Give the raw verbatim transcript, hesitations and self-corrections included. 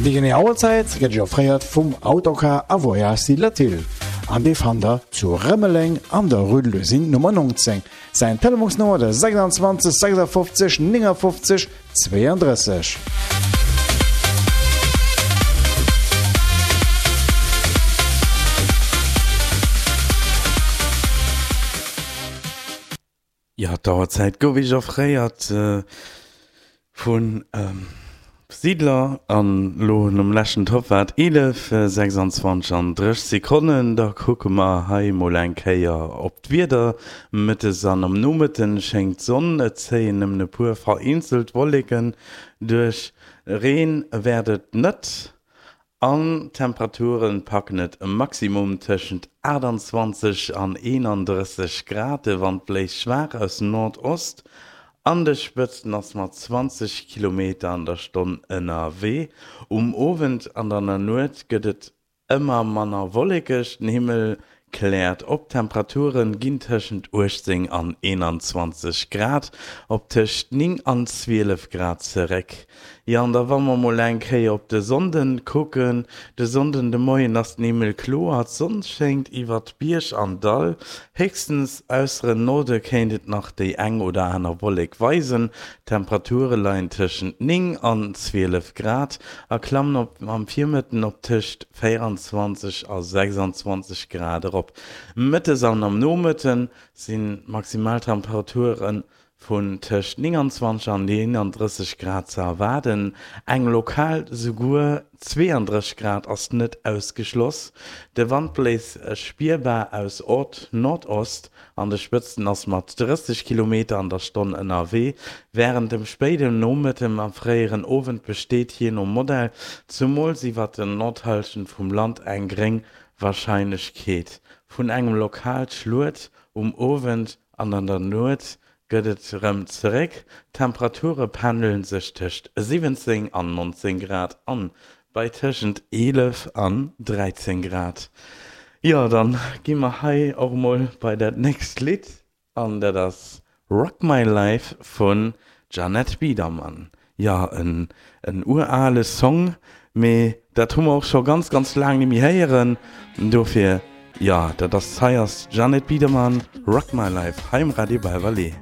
Déi genee Auerzäit gëtt Iech offréiert vum Autocar a Voyages Latil an dee fannt der zu Rëmeleng an der Rue de l'Usine Nummer neunzéng. Säin Telefonsnummer de sechsundzwanzeg sechsundfünfzig neunundfünfzig zweiunddrësseg. Jo, d'Auerzäit gouf Iech offréiert vun Siedler an lo nom leschten Topp war et eelef, sechsundzwanzeg an dréch Sekonnen. Da kucke mer hei mol eng Kéier op d'Wieder. Mëttes an am Nomëtten schéngt d'Sonn, et zéien nëmmen e puer vereenzelt Wolleken duerch, Reen wäert et net. An d'Temperature packen et e Maximum tëschent aachtandzwanzeg an eenandrësseg Grad. De Wand bléist schwaach aus Nordost, an de Spëtzten ass mat zwanzeg Kilometer an der Stonn ënnerwee. Um Owend an an der Nuet gëtt et ëmmer manner wollekeg, den Himmel kläert op, d'Temperature ginn tëschent uechtzéng an eenandzwanzeg Grad op tëscht néng an zwielef Grad zeréck. Jo, an da wa mer mol eng Kéier op de Sonnden kucken, De Sonnden de Moien ass den Himmel kloer, d'Sonn schéngt iwwert Bierg an Dall, héchstens ausser en Norde kéint et nach déi eng oder aner Wollek weisen. D'Temperature leien tëschent néng an zwielef Grad a klammen op am Virmëtten op tëscht véierandzwanzeg a sechsundzwanzeg Grad erop. Mëttes an am Nomëtte sinn d'Maximaltemperature vun tëscht nénganzwanzeg an eenandrësseg Grad ze erwaarden, eng lokal souguer zweeandrësseg Grad ass net ausgeschloss. De Wand bléist spierbar aus Nordost, an de Spëtzten ass mat drësseg Kilometer an der Stonn ënnerwee. Wärend dem spéiden Nomëtten a fréieren Owend besteet jee no Modell, zumools iwwert der Nordhallschent vum Land, eng gréng Warscheinlechkeet vun engem lokale Schluet. Um Owend an an der Nuet gëtt et rem zeréck, d'Temperature pendele sech tëscht siwwenzéng an nonzéng Grad an bei tëschent eelef an dräizéng Grad. Jo, dann gi mer hei och mol bei dat nächst Lidd an dat ass Rock My Life vun Jeanette Biedermann. Jo, en en urale Song, mee dat hu mer och scho ganz ganz laang nemmi héieren, dofir jo, dat ass hei ass Jeanette Biedermann, Rock My Life hei um Radio Belval.